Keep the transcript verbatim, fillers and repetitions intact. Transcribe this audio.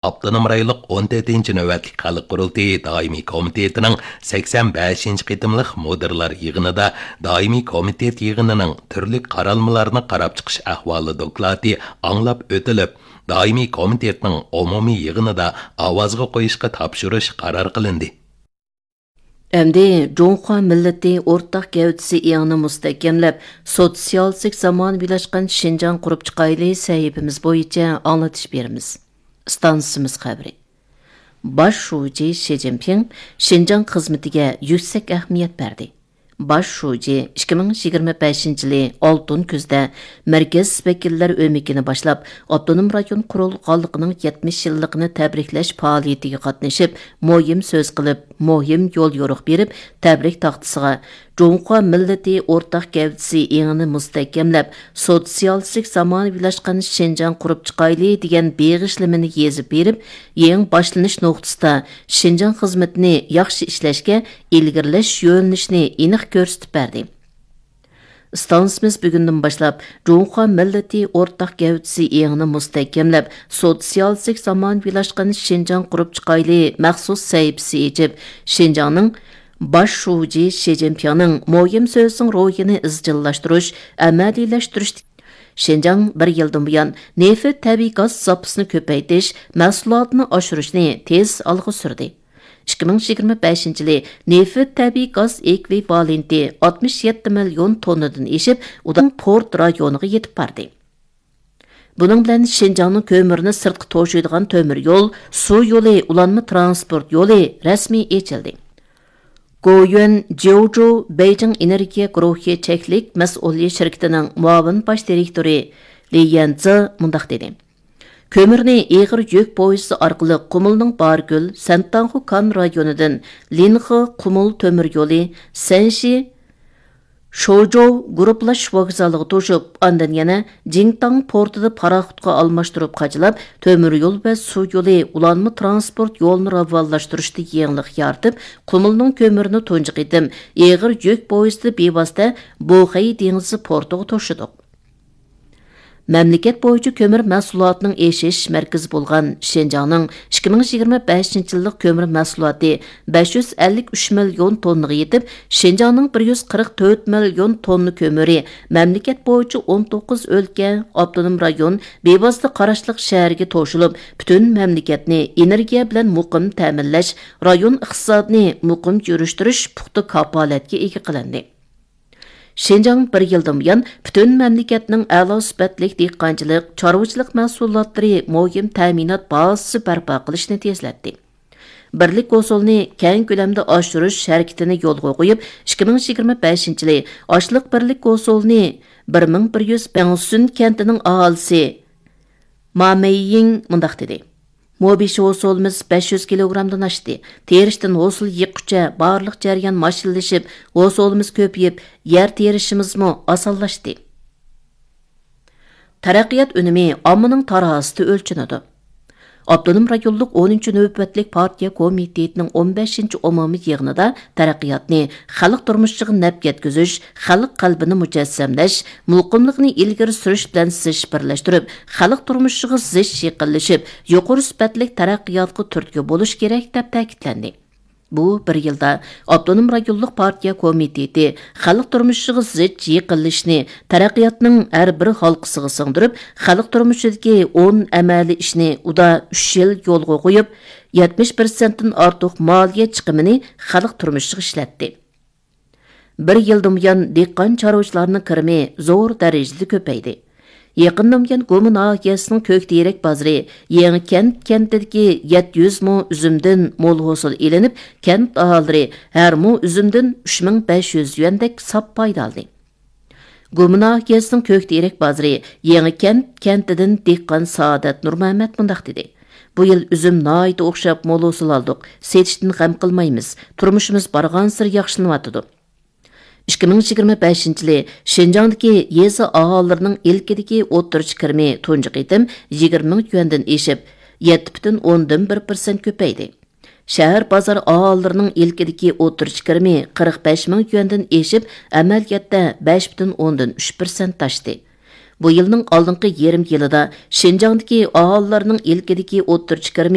ئاپتونوم رايونلۇق ئون تۆتىنچى نۆۋەتلىك خەلق قۇرۇلتىيى دائىمىي كومىتېتىنىڭ سەكسەن بەشىنچى قېتىملىق مۇدىرلار يىغىنىدا دائىمىي كومىتېت يىغىنىنىڭ تۈرلۈك قارالمىلارنى قاراپ چىقىش ئەھۋالى دوكلاتى ئاڭلاپ ئۆتۈلۈپ، دائىمىي كومىتېتنىڭ ئومۇمىي يىغىنىدا ئاۋازغا قويۇشقا تاپشۇرۇش قارار قىلىندى. ئەمدى جۇڭخۇا مىللىتى ئورتاق گەۋدىسى ئېڭىنى مۇستەھكەملەپ، سوتسىيالىستىك زامانىۋىلاشقان شىنجاڭ قۇرۇپ چىقايلى سەھىپىمىز بويىچە ئاڭلىتىش بېرىمىز. ئىستانسىمىز خەۋىرى. باش شۇجى شى جىنپىڭ شىنجاڭ خىزمىتىگە يۈكسەك ئەھمىيەت بەردى. باش شۇجى ئىككى مىڭ يىگىرمە بەشىنچى يىلى ئالتۇن كۈزدە مەركەز ۋەكىللەر ئۆمىكىنى باشلاپ، ئاپتونوم رايون قۇرۇلغانلىقىنىڭ يەتمىش يىللىقىنى تەبرىكلەش پائالىيىتىگە قاتنىشىپ، مۇھىم سۆز قىلىپ، مۇھىم يوليورۇق بېرىپ، تەبرىك تاختىسىغا جۇڭخۇا مىللىتى ئورتاق گەۋدىسى ئېڭىنى مۇستەھكەملەپ، سوتسىيالىستىك زامانىۋىلاشقان شىنجاڭ قۇرۇپ چىقايلى دېگەن بېغىشلىمىنى يېزىپ بېرىپ، يېڭى باشلىنىش نۇقتىسىدا شىنجاڭ خىزمىتىنى ياخشى ئىشلەشكە ئىلگىرىلەش يۆنىلىشىنى ئېنىق كۆرسىتىپ بەردى. ئىستانسىمىز بۈگۈندىن باشلاپ جۇڭخۇا مىللىتى ئورتاق گەۋدىسى ئېڭىنى مۇستەھكەملەپ، سوتسىيالىستىك زامانىۋىلاشقان شىنجاڭ قۇرۇپ چىقايلى مەخسۇس سەھىپىسى ئېچىپ، شىنجاڭنىڭ باش شۇجى شى جىنپىڭنىڭ مۇھىم سۆزىنىڭ روھىنى ئىزچىللاشتۇرۇش، ئەمەلىيلەشتۈرۈش. شىنجاڭ بىر يىلدىن بۇيان نېفىت، تەبىئىي گاز زاپىسىنى كۆپەيتىش، مەھسۇلاتنى ئاشۇرۇشنى تېز ئالغا سۈردى. ئىككى مىڭ يىگىرمە بەشىنچى يىلى نېفىت، تەبىئىي گاز ئېكۋىۋالېنتى ئاتمىش يەتتە مىليون توننىدىن ئېشىپ، ئۇدان پورت رايونىغا يېتىپ باردى. بۇنىڭ بىلەن شىنجاڭنىڭ كۆمۈرنى سىرتقا توشۇيدىغان تۆمۈر يول، سۇ يولى، ئۇلانما تىرانسپورت يولى رەسمىي ئېچىلدى. گويۈەن جيوجۇ بېيجىڭ ئېنېرگىيە گۇرۇھى چەكلىك مەسئۇلىيەت شىركىتىنىڭ مۇئاۋىن باش دىرېكتورى لى يەنزې مۇنداق دېدى: كۆمۈرنى ئېغىر يۈك پويىزى ئارقىلىق قۇمۇلنىڭ بارگۈل، سەنتاڭخۇ كان رايونىدىن لىنخې قۇمۇل تۆمۈر يولى، سەنشى شوجوۋ گۇرۇپپىلاش ۋوگزالىغا توشۇپ، ئاندىن يەنە جىڭتاڭ پورتىدا پاراخوتقا ئالماشتۇرۇپ قاچىلاپ، تۆمۈر يول ۋە سۇ يولى، ئۇلانما تىرانسپورت يولىنى راۋانلاشتۇرۇشتا يېڭىلىق يارىتىپ، قۇمۇلنىڭ كۆمۈرىنى تۇنجى قېتىم ئېغىر يۈك پويىزىدا بىۋاسىتە بوخەي دېڭىزى پورتىغا توشۇدۇق. مەملىكەت بويىچە كۆمۈر مەھسۇلاتىنىڭ ئېشىش مەركىزى بولغان شىنجاڭنىڭ ئىككى مىڭ يىگىرمە بەشىنچى يىللىق كۆمۈر مەھسۇلاتى بەش يۈز ئەللىك ئۈچ مىليون توننىغا يېتىپ، شىنجاڭنىڭ بىر يۈز قىرىق تۆت مىليون توننا كۆمۈرى مەملىكەت بويىچە ئون توققۇز ئۆلكە، ئاپتونوم رايون، بىۋاسىتە قاراشلىق شەھەرگە توشۇلۇپ، پۈتۈن مەملىكەتنى ئېنېرگىيە بىلەن مۇقىم تەمىنلەش، رايون ئىقتىسادىنى مۇقىم يۈرۈشتۈرۈش پۇختا كاپالەتكە ئىگە قىلىندى. شىنجاڭ بىر يىلدىن بۇيان پۈتۈن مەملىكەتنىڭ ئەلا سۈپەتلىك دېھقانچىلىق، چارۋىچىلىق مەھسۇلاتلىرى مۇھىم تەمىنات بازىسى بەرپا قىلىشنى تېزلەتتى. بىرلىك ھوسۇلنى كەڭ كۆلەمدە ئاشۇرۇش ھەرىكىتىنى يولغا قويۇپ، ئىككى مىڭ يىگىرمە بەشىنچى يىلى ئاشلىق بىرلىك ھوسۇلىنى بىر مىڭ بىر يۈز، بەڭسۈن كەنتىنىڭ ئاھالىسى ما مېييىڭ مۇنداق دېدى: مو بېشى ھوسۇلىمىز بەش يۈز كىلوگرامدىن ئاشتى. تېرىشتىن ھوسۇل يىغقۇچە بارلىق جەريان ماشىنىلىشىپ، ھوسۇلىمىز كۆپىيىپ، يەر تېرىشىمىزمۇ ئاسانلاشتى. تەرەققىيات ئۈنۈمى ئاممىنىڭ تارازىسىدا ئۆلچىنىدۇ. ئاپتونوم رايونلۇق ئونىنچى نۆۋەتلىك پارتىيە كومىتېتىنىڭ ئون بەشىنچى ئومۇمىي يىغىنىدا تەرەققىياتنى خەلق تۇرمۇشىغا نەپ يەتكۈزۈش، خەلق قەلبىنى مۇجەسسەملەش، مۇقىملىقنى ئىلگىرى سۈرۈش بىلەن زىچ بىرلەشتۈرۈپ، خەلق تۇرمۇشىغا زىچ يېقىنلىشىپ، يۇقىرى سۈپەتلىك تەرەققىياتقا تۈرتكە بولۇش كېرەك، دەپ تەكىتلەندى. بۇ بىر يىلدا ئاپتونوم رايونلۇق پارتىيە كومىتېتى خەلق تۇرمۇشىغا زىچ يېقىنلىشىشنى تەرەققىياتنىڭ ھەر بىر ھالقىسىغا سىڭدۈرۈپ، خەلق تۇرمۇشىدىكى ئون ئەمەلىي ئىشنى ئۇدا ئۈچ يىل يولغا قويۇپ، يەتمىش پىرسەنتتىن ئارتۇق مالىيە چىقىمىنى خەلق تۇرمۇشىغا ئىشلەتتى. بىر يىلدىن بۇيان دېھقان چارۋىچىلارنىڭ كىرىمى زور دەرىجىدە كۆپەيدى. يېقىندىن بۇيان گۇما ناھىيەسىنىڭ كۆكتېرەك بازىرى يېڭىكەنت كەنتىدىكى يەتتە يۈز مو ئۈزۈمدىن مول ھوسۇل ئېلىنىپ، كەنت ئاھالىلىرى ھەر مو ئۈزۈمدىن ئۈچ مىڭ بەش يۈز يۈەندەك ساپ پايدا ئالدى. گۇما ناھىيەسىنىڭ كۆكتېرەك بازىرى يېڭىكەنت كەنتىدىن دېھقان سائادەت نۇرمەمەت مۇنداق دېدى: بۇ يىل ئۈزۈم ناھايىتى ئوخشاپ مول ھوسۇل ئالدۇق، سېتىشتىن غەم قىلمايمىز، تۇرمۇشىمىز بارغانسېرى ياخشىلىنىۋاتىدۇ. ئىككى مىڭ يىگىرمە بەشىنچى يىلى شىنجاڭدىكى يېزا ئاھالىلىرىنىڭ ئىلكىدىكى ئوتتۇرىچە كىرىمى تۇنجى قېتىم يىگىرمە مىڭ يۈەندىن ئېشىپ، يەتتە پۈتۈن ئوندىن بىر پىرسەنت كۆپەيدى. شەھەر بازار ئاھالىلىرىنىڭ ئىلكىدىكى ئوتتۇرىچە كىرىمى قىرىق بەش مىڭ يۈەندىن ئېشىپ، ئەمەلىيەتتە بەش پۈتۈن ئوندىن ئۈچ پىرسەنت ئاشتى. بۇ يىلنىڭ ئالدىنقى يېرىم يىلىدا شىنجاڭدىكى ئاھالىلەرنىڭ ئىلكىدىكى ئوتتۇرا چىقىرىمى